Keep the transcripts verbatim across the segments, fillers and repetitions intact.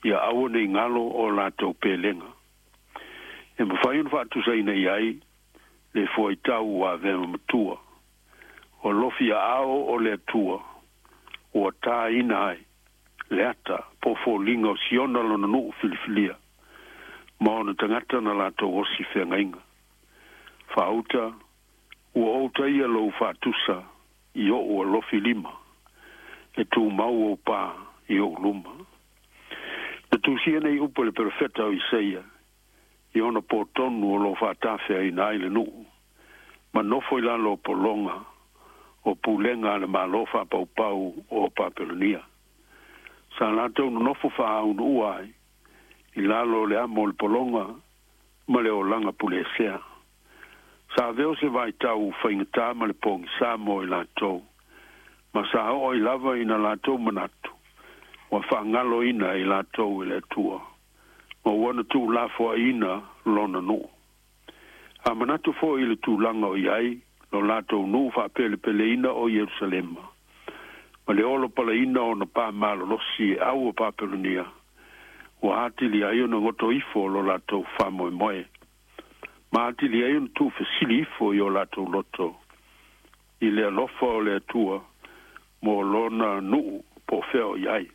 Ia aua nei galo o latou pelega. E mafai ona faatusaina i ai le fuaitau ua avea ma matua. O lofi aao o le Atua ua tāina ai le ata po foliga o Siona lona nuu filifilia ma ona tagata na latou osi feagaiga. Faauta ua ou taia lou faatusa i o'u alofi lima e tumau ou pā i o'u luma. Na tusia nei upu e le perofeta o Isaia i ona pō tonu o loo faatafeaina ai le nuu ma nofo i lalo o pologa o pulega a le Malo faapaupau o Papelonia. Sa latou nonofo faaunuua ai i lalo o le amo o le pologa ma le olaga puleesea. Sa avea se vaitau faigatā ma le pogisā mo i latou, ma sa oo ai lava ina latou manatu ua faagaloina i latou e le Atua ma ua na tuulafoaiina lona nuu. A manatu foi i le tulaga o i ai lo latou nuu faapelepeleina o Ierusalema ma le olo palaina ona pā malolosi e au o Papelonia, ua atili ai ona goto ifo lo latou faamoemoe ma atili ai ona tuufesili ifo i o latou loto i le alofa o le Atua mo lona nuu po o fea o i ai.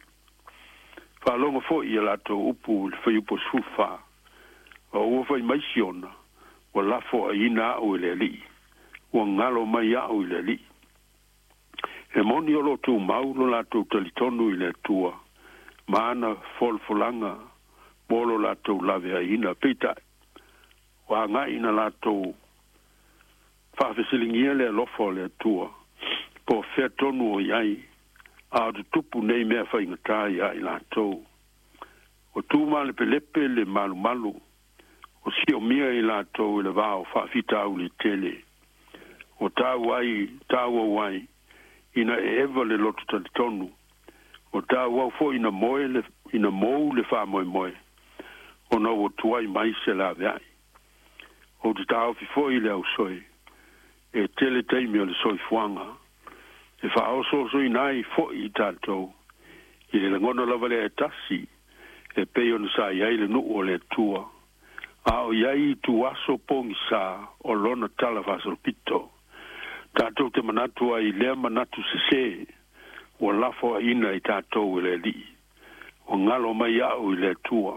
Faalogo foi ia latou upu i le fuaiupu sefulufa: O ua fai mai Siona, ua lafoaiina a'u e le Alii, ua galo mai a'u i le Alii. E moni o loo tumau lo latou talitonu i le Atua ma ana folafolaga mo lo latou laveaiina, peitai ua agai ina latou faafesiligia le alofa o le Atua po o fea tonu o i ai a o tutupu nei mea faigatā iā i latou. O tu malepelepe le malumalu o siomia i latou i le va o faafitauli tele. O tau ai tauau ai ina e eva le loto talitonu, o tauau foi ina moe le, ina mou le faamoemoe ona ua tuai mai se laveai. Ou te taofi foi le ausoe e tele taimi o le soifuaga e faaosoosoina ai foi i tatou i le lagona lava lea e tasi e pei ona sa i ai le nuu o le Atua a o i ai ituaso pogisā o lona tala faasolopito. Tatou te manatu ai i lea manatu sesē ua lafoaiina i tatou e le Alii, ua galo mai a'u i le Atua,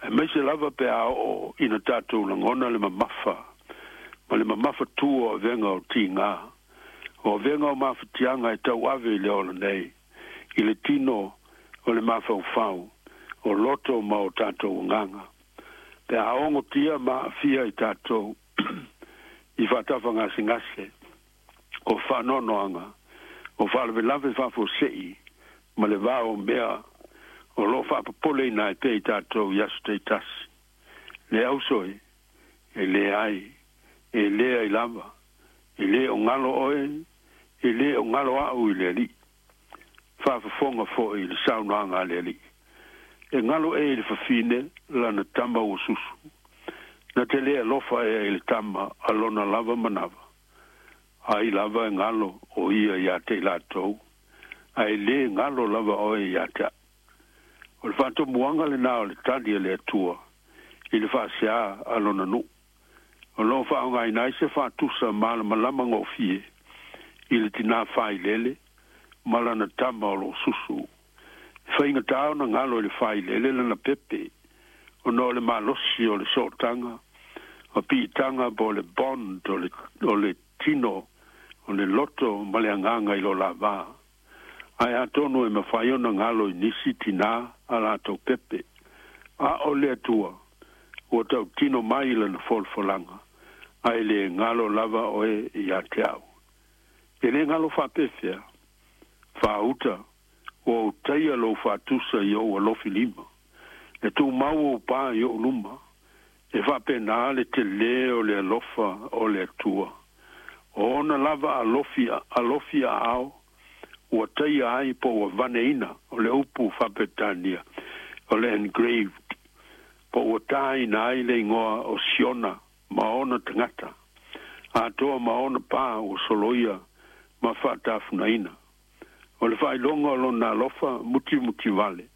aemaise lava pe a oo ina tatou lagona le mamafa ma le mamafa tu o avega o tigā o avega o mafatiaga e tauave i le ola nei i le tino o le mafaufau o loto ma o tatou agaga pe a ogotia ma aafia i tatou i faatafagasegase o faanoanoaga o faalavelave faafuasei ma le va o mea o loo faapopoleina ai pea i tatou i aso taitasi. Le ausoe, e lē ai e lē ai lava e lē o galo oe, e lē o galo a'u i le Alii. Faafofoga foi i le saunoaga a le Alii: E galo ē i le fafine lana tama ua susu? Na te lē alofa ea i le tama a lona lava manava? Ai lava e galo o ia iā te i latou, ae lē galo lava oe iā te a'u. O le faatomuaga lenā o le tali a le Atua i le faasea a lona nuu o loo faaaogaina ai se faatusa malamalama gofie i le tinā failele ma lana tama o loo susu. E faigatā ona galo i le failele lana pepe ona o le malosi o le sootaga ma piitaga po o le bond o le, o le tino o le loto ma le agaga i lo lavā, ae atonu e mafai ona galo i nisi tinā a latou pepe. A o le Atua ua tautino mai lana folafolaga, ae le galo lava oe iā te a'u. E lē galo faapefea? Faauta ua ou taia lou faatusa i ou alofi lima e tumau ou pā i o'u luma. E faapenā le telē o le alofa o le Atua o ona lava alofi alofi aao ua taia ai po ua vaneina, o le upu faapetania o le engraved, po ua tāina ai le igoa o Siona ma ona tagata atoa ma ona pā ua soloia ma faatafunaina o le faailoga o lona alofa mutimuti vale.